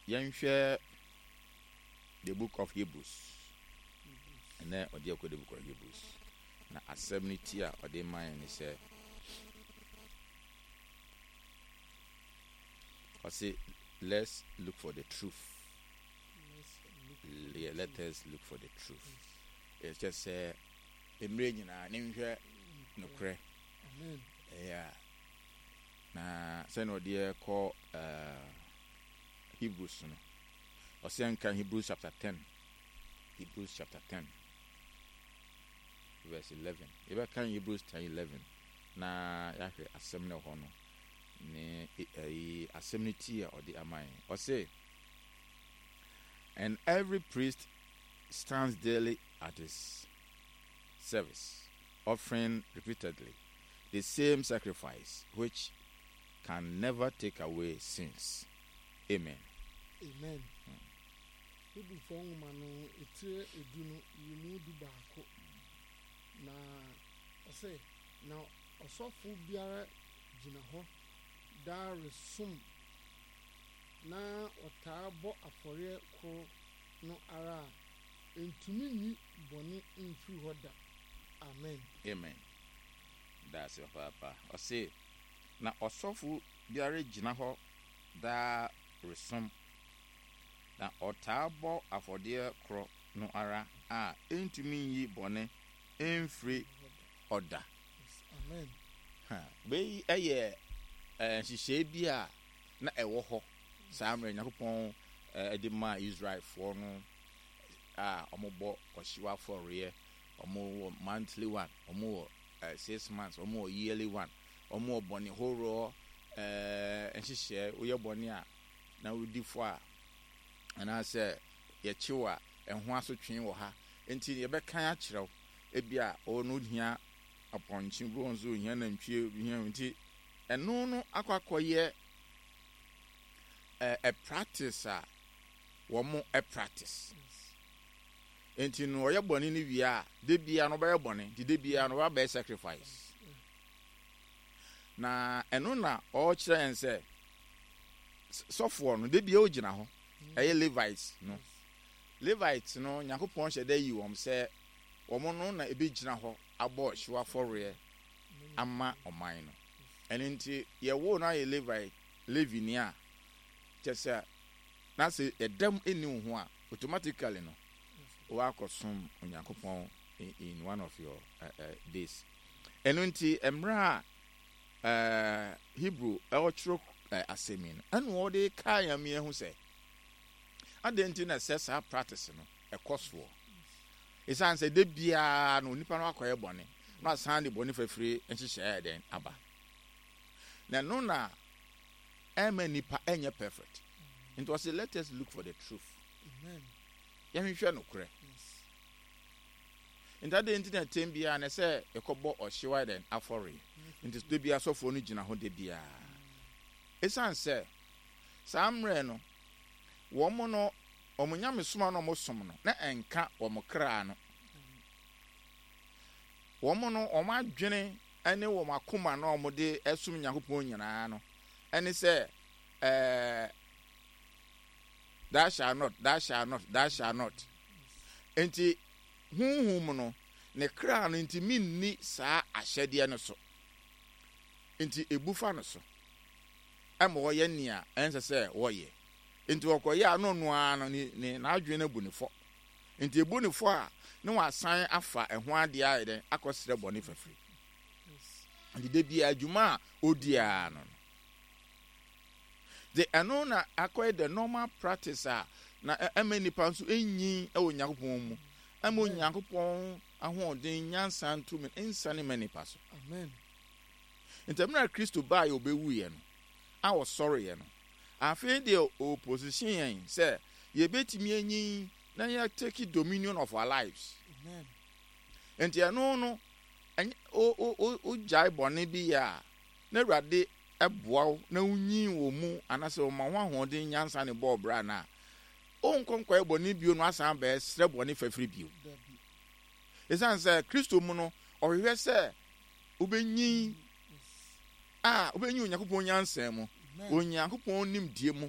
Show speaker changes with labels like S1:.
S1: Yɛnhwɛ the book of Hebrews. Ɛnɛ ɔde ɛkɔ the book of Hebrews. Na asɛm no ti a ɔde ma yɛn ne sɛ ɔse let's look for the truth. Yeah, let us look for the truth. Ɛkyɛ sɛ mmerɛ nyinaa ne nhwɛ nokorɛ. Yeah. Na sɛnea ɔde ɛkɔ uh, Hebrews no, ɔsɛ nka Hebrews chapter 10. Hebrews chapter 10 verse 11. Yɛbɛka Hebrews 10 11 na yɛahwɛ asɛm no hɔ no ne ɛyi asɛm no ti a ɔde ama yɛn. Ɔse, and every priest stands daily at his service, offering repeatedly the same sacrifice which can never take away sins. Amen.
S2: Amen. Hebrifoɔ nwoma no etire 10 no yimu 11 na ɔsɛ, na ɔsɔfo biara gyina hɔ daa resom na ɔtaa bɔ afɔreɛ koro no ara a, ɛntumi nyi bɔne mfiri hɔ da. Amen.
S1: Amen. Daase papaapa. Ɔse, na ɔsɔfo biara gyina hɔ daa resom, na ɔtaa bɔ afɔdeɛ korɔ no ara a ɛntumi nyi bɔne mfiri hɔ da.
S2: Amen.
S1: Ha, wei yɛ nhyehyɛe bi a na ɛwɔ hɔ saa mmerɛ Nyankopɔn de maa Israelfoɔ no a wɔbɔ ɔhyew afɔreɛ, wɔwɔ monthly one, wɔwɔ 6 months, wɔwɔ yearly one, wɔwɔ bɔne horoɔ nhyehyɛe. Woyɛ bɔne a na wodi fɔ a, anaasɛ yɛkyew a, ɛho asotwe wɔ ha. Nti yɛbɛkan akyerɛ wo, ebi a ɔno hia apɔnkye bi, wɔn nso hia nantwie hia. Nti ɛno no akɔ akɔyɛ ɛ practice a wɔn practice. Nti no ɔyɛ bɔne no wie a, de bia no ɔbɛyɛ bɔne, nti de bia no ɔbɛyɛ sacrifice. Na ɛno na ɔrekyerɛ yɛn sɛ sɔfoɔ no de bia ogyina hɔ, ɛyɛ Levites no. Levites no, Nyankopɔn hyɛ dɛ yi wɔn sɛ wɔn no na ebi gyina hɔ abɔ ɔhyew afɔreɛ ama ɔman no. Ɛno nti yɛwo no ayɛ Levite, Levini a kyɛ sɛ na sɛ ɛdɛm ɛnni wo ho a, automatically no wakɔsom Onyankopɔn in one of your days. Ɛno nti mmerɛ a Hebrew ɛwɔtwerɛ asɛm yi no, ɛna wɔde kaa yɛn mmea ho sɛ adɛn nti na ɛsɛ saa practice no ɛkɔ soɔ? Ɛsiane sɛ de biara no onipa no akɔyɛ bɔne na asan de bɔne fafiri nhyehyɛeɛ dɛn aba, na ɛno na ɛma nipa ɛnyɛ perfect. Nti ɔsɛ let us look for the truth.
S2: Amen.
S1: Yɛhwehwɛ nokorɛ. Nti adɛn nti na tɛm biara na sɛ ɛkɔbɔ ɔhyew ayɛ dɛn afɔre? Nti de biara sɔfoɔ no gyina hɔ de biara, ɛsiane sɛ saa mmerɛ no wɔn no wɔn nyamesoma no wɔn som no na ɛnka wɔn kra no, wɔn no wɔn adwene ne wɔn akoma no a wɔde ɛsom Nyankopɔn nyinaa no ɛne sɛ thou shall not, thou shall not, thou shall not. Nti huhum no ne kra no nti minni saa ahyɛdeɛ no so, nti ebu fa no so ɛma wɔyɛ nea ɛnsɛ sɛ wɔyɛ. Nti wɔkɔyɛ a, no no ara no ne ne n'adwene no abu ne fɔ. Nti ebu ne fɔ a, ne wasan afa ɛho adeɛ ayɛ dɛn akɔsrɛ bɔne fafiri. Nti de bia adwuma a odi ara no de ɛno na akɔyɛ the normal practice a na ɛma nipa nso enyin ɛwɔ Nyankopɔn mu, ɛma Onyankopɔn ahoɔden, nyansa, ntumi nsane ma nipa so.
S2: Amen.
S1: Nti mmerɛ Kristo baa yɛ, ɔbɛwuiɛ no a ɔsɔreɛ no, afei deɛ ɔposition yɛn sɛ yɛbɛtumi anyin na yɛ take dominion of our lives.
S2: Amen.
S1: Nti ɛno no ɛnyɛ o o o ogyae bɔne bi yɛ a, na Awurade ɛboa wo na wonyin wɔ mu, anaasɛ ɔma ho ahoɔden, nyansa ne bɔɔ bra no a, wonkɔ nkɔyɛ bɔne bio no asan bɛɛ srɛ bɔne fafiri bio.
S2: Dabi.
S1: Ɛsiane sɛ Kristo mu no ɔhwehwɛ sɛ wobɛnyin a wobɛnyin Onyankopɔn nyansa mu,
S2: Amen.
S1: Onyankopɔn nimdeɛ mu.